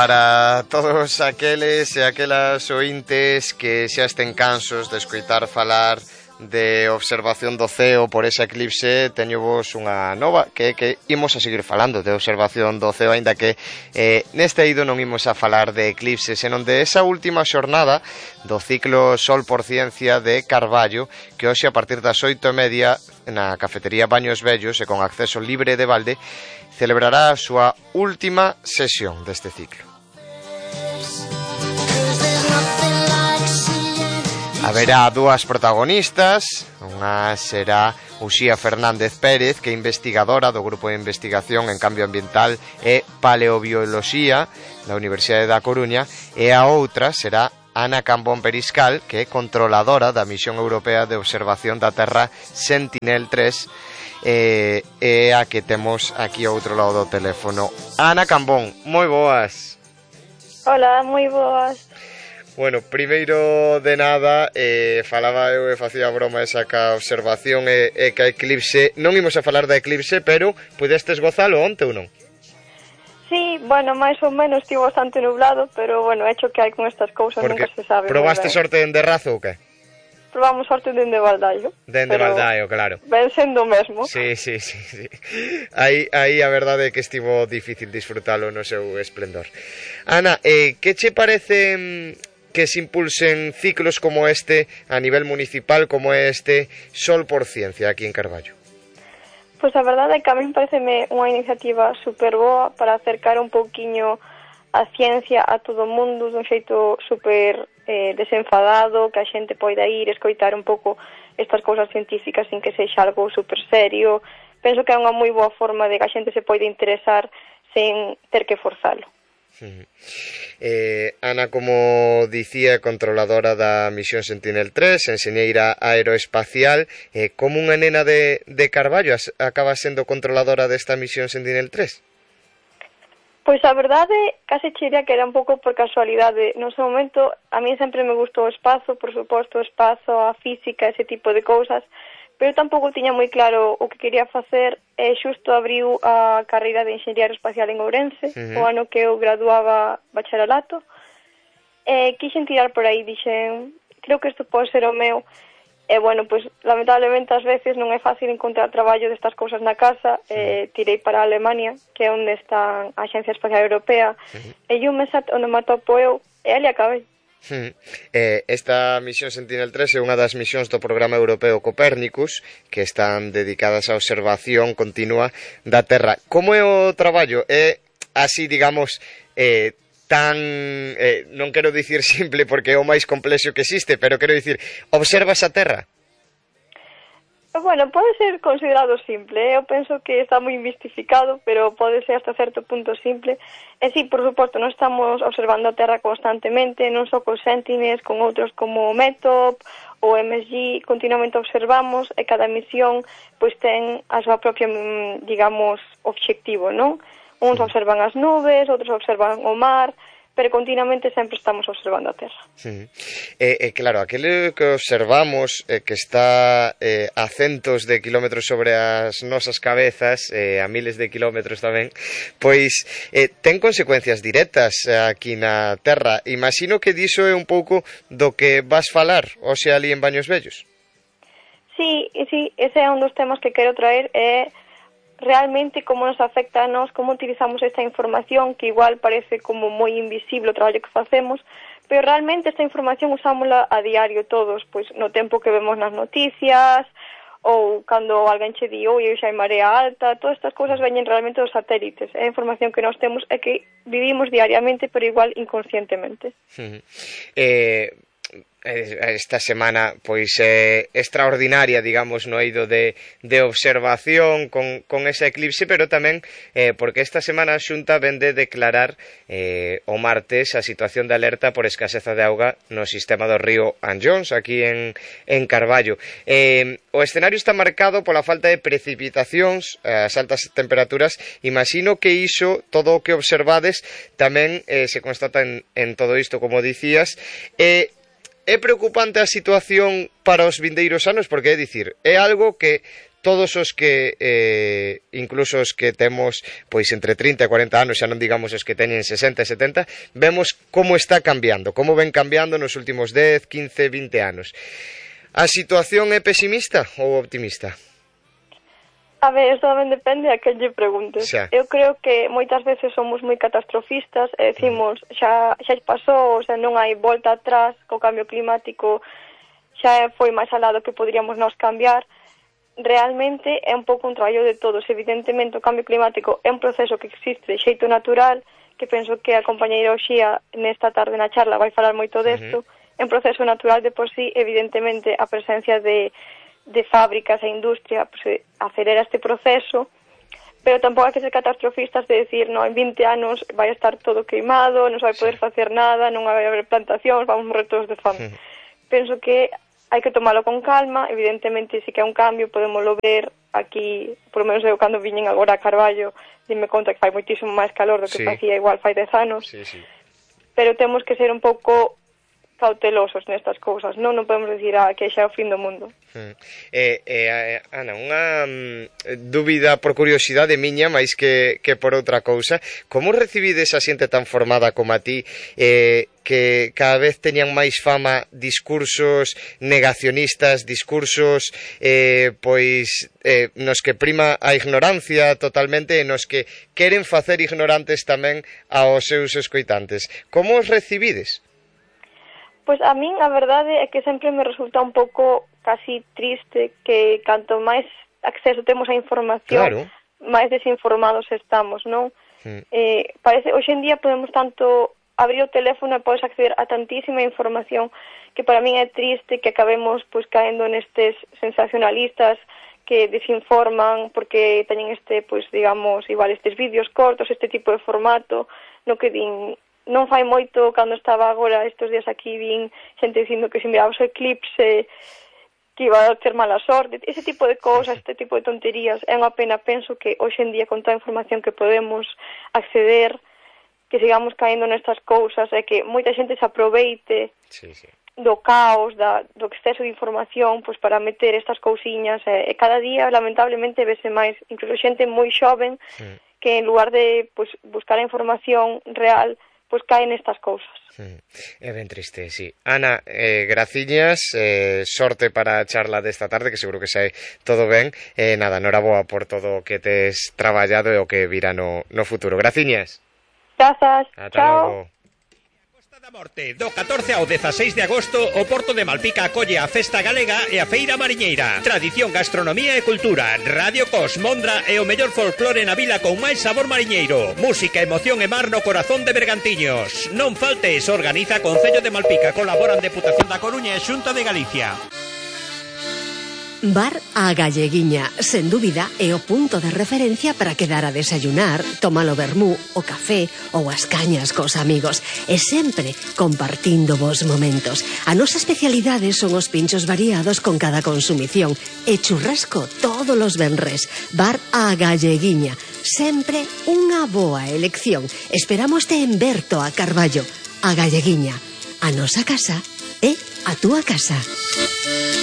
Para todos aqueles e aquelas ointes que xa estén cansos de escoitar falar de observación do ceo por ese eclipse, teño vos unha nova que imos a seguir falando de observación do ceo, aínda que neste eido non imos a falar de eclipse, senón de esa última xornada do ciclo Sol por Ciencia de Carballo, que hoxe a partir das 8:30 na cafetería Baños Vellos e con acceso libre de balde celebrará a súa última sesión deste ciclo. Haberá dúas protagonistas, unha será Uxía Fernández Pérez, que é investigadora do Grupo de Investigación en Cambio Ambiental e Paleobioloxía da Universidade da Coruña, e a outra será Ana Cambón Periscal, que é controladora da Misión Europea de Observación da Terra Sentinel-3, e a que temos aquí ao outro lado do teléfono. Ana Cambón, moi boas. Hola, moi boas. Bueno, primeiro de nada, falaba eu e facía a broma esa ca observación e ca eclipse. Non imos a falar da eclipse, pero pudestes gozalo onte ou non? Sí, bueno, máis ou menos estivo bastante nublado, pero bueno, hecho que hai con estas cousas nunca se sabe. Probaste sorte dende Razo ou que? Probamos sorte dende Baldaio. Dende Baldaio, claro. Ben sendo o mesmo. Sí. Aí a verdade é que estivo difícil disfrutalo no seu esplendor. Ana, que che parece que se impulsen ciclos como este a nivel municipal, como este Sol por Ciencia aquí en Carballo? Pois a verdade é que a mí pareceme unha iniciativa super boa para acercar un pouquiño a ciencia a todo o mundo dun xeito super desenfadado, que a xente poida ir escoitar un pouco estas cousas científicas sin que sexa algo super serio. Penso que é unha moi boa forma de que a xente se poida interesar sen ter que forzalo. Ana, como dicía, controladora da misión Sentinel-3, enxeñeira aeroespacial, como unha nena de Carballo acaba sendo controladora desta misión Sentinel-3? Pois a verdade, case diría que era un pouco por casualidade. No seu momento, a mí sempre me gustou o espazo, por suposto, o espazo, a física, ese tipo de cousas, pero tampouco tiña moi claro o que quería facer, e xusto abriu a carreira de Enxeñería Aeroespacial en Ourense, o ano que eu graduaba bacharelato, e quixen tirar por aí, dixen, creo que isto pode ser o meu, e bueno, pois lamentablemente ás veces non é fácil encontrar traballo destas cousas na casa, e tirei para a Alemania, que é onde está a Axencia Espacial Europea, e eu onde me atopo eu, e ali acabei. Esta misión Sentinel-3 é unha das misións do programa europeo Copérnicus, que están dedicadas á observación continua da Terra. Como é o traballo? É así, digamos, non quero dicir simple porque é o máis complexo que existe, pero quero dicir, observas a Terra? Bueno, pode ser considerado simple, eu penso que está moi mistificado, pero pode ser hasta certo punto simple. E sí, por suposto, non estamos observando a Terra constantemente, non só con Sentinels, con outros como METOP ou MSG, continuamente observamos, e cada misión pois ten a súa propia, digamos, obxectivo, non? Uns observan as nubes, outros observan o mar, pero continuamente sempre estamos observando a Terra. Claro, aquele que observamos que está a centos de kilómetros sobre as nosas cabezas, a miles de kilómetros tamén, pois ten consecuencias directas aquí na Terra. Imagino que diso é un pouco do que vas falar hoxe ali en Baños Vellos. Sí, ese é un dos temas que quero traer, é realmente como nos afecta a nós, como utilizamos esta información, que igual parece como moi invisible o traballo que facemos, pero realmente esta información usámola a diario todos, pois no tempo que vemos nas noticias, ou cando alguén che di, oi, xa hai marea alta, todas estas cousas veñen realmente dos satélites, é a información que nós temos e que vivimos diariamente, pero igual inconscientemente. Esta semana pois extraordinaria, digamos, no eido de observación con ese eclipse, pero tamén porque esta semana a Xunta vende declarar o martes a situación de alerta por escaseza de auga no sistema do río Anllóns, aquí en Carballo. O escenario está marcado pola falta de precipitacións, as altas temperaturas. Imagino que iso, todo o que observades, tamén se constata en todo isto, como dicías. É preocupante a situación para os vindeiros anos, porque é dicir, é algo que todos os que incluso os que temos pois entre 30 e 40 anos, xa non digamos os que teñen 60 e 70, vemos como está cambiando, como ven cambiando nos últimos 10, 15, 20 anos. A situación é pesimista ou optimista? A ver, isto tamén depende a quen lle preguntes. Xa. Eu creo que moitas veces somos moi catastrofistas e decimos xa pasou, o sea, non hai volta atrás co cambio climático, xa foi máis alá do que poderíamos nós cambiar. Realmente é un pouco un traballo de todos. Evidentemente o cambio climático é un proceso que existe de xeito natural, que penso que a compañeira Oxía nesta tarde na charla vai falar moito desto. É un proceso natural de por sí, evidentemente a presencia de fábricas e industria pues, acelera este proceso, pero tampouco hai que ser catastrofistas de decir, no, en 20 anos vai estar todo queimado, non se vai poder facer nada, non vai haber plantacións, vamos morrer todos de fame. Penso que hai que tomalo con calma, evidentemente si que é un cambio, podemoslo ver aquí, por lo menos eu cando viñen agora a Carballo, dime conta que fai moitísimo máis calor do que facía igual fai 10 anos, pero temos que ser un pouco cautelosos nestas cousas, non podemos decir que xa é o fin do mundo. Ana, unha dúbida por curiosidade miña, máis que por outra cousa, como recibides a xente tan formada como a ti, que cada vez teñan máis fama discursos negacionistas, discursos nos que prima a ignorancia totalmente e nos que queren facer ignorantes tamén aos seus escoitantes? Como os recibides? Pois a min a verdade é que sempre me resulta un pouco casi triste que canto máis acceso temos á información, máis desinformados estamos, non? Parece, hoxe en día podemos tanto abrir o teléfono e podes acceder a tantísima información que para min é triste que acabemos pois caendo nestes sensacionalistas que desinforman porque teñen pois digamos, igual estes vídeos cortos, este tipo de formato, no que din. Non fai moito, cando estaba agora estes días aquí, vin xente dicindo que se mirabas o eclipse que iba a ter mala sorte, ese tipo de cousas, este tipo de tonterías. É unha pena, penso que hoxe en día con toda a información que podemos acceder, que sigamos caendo nestas cousas e que moita xente se aproveite do caos, do exceso de información pois para meter estas cousiñas e cada día lamentablemente vese máis, incluso xente moi xoven que en lugar de pois buscar a información real pois caen estas cousas. É ben triste, sí. Ana, graciñas, sorte para a charla desta tarde, que seguro que sai todo ben. Nada, noraboa por todo o que tes traballado e o que virá no futuro. Graciñas. Grazas. Ata logo. Da Morte, do 14 ao 16 de agosto, o Porto de Malpica acolle a Festa Galega e a Feira Mariñeira. Tradición, gastronomía e cultura, Radio Cos, Mondra e o mellor folclore na vila con máis sabor mariñeiro. Música, emoción e mar no corazón de Bergantiños. Non faltes, organiza Concello de Malpica, colaboran Deputación da Coruña e Xunta de Galicia. Bar A Galleguiña, sen dúbida, é o punto de referencia para quedar a desayunar, tomar o vermú, o café ou as cañas cos amigos, e sempre compartindo vos momentos. A nosa especialidade son os pinchos variados con cada consumición e churrasco todos os venres. Bar A Galleguiña, sempre unha boa elección. Esperámoste en Berto a Carballo. A Galleguiña, a nosa casa é a túa casa.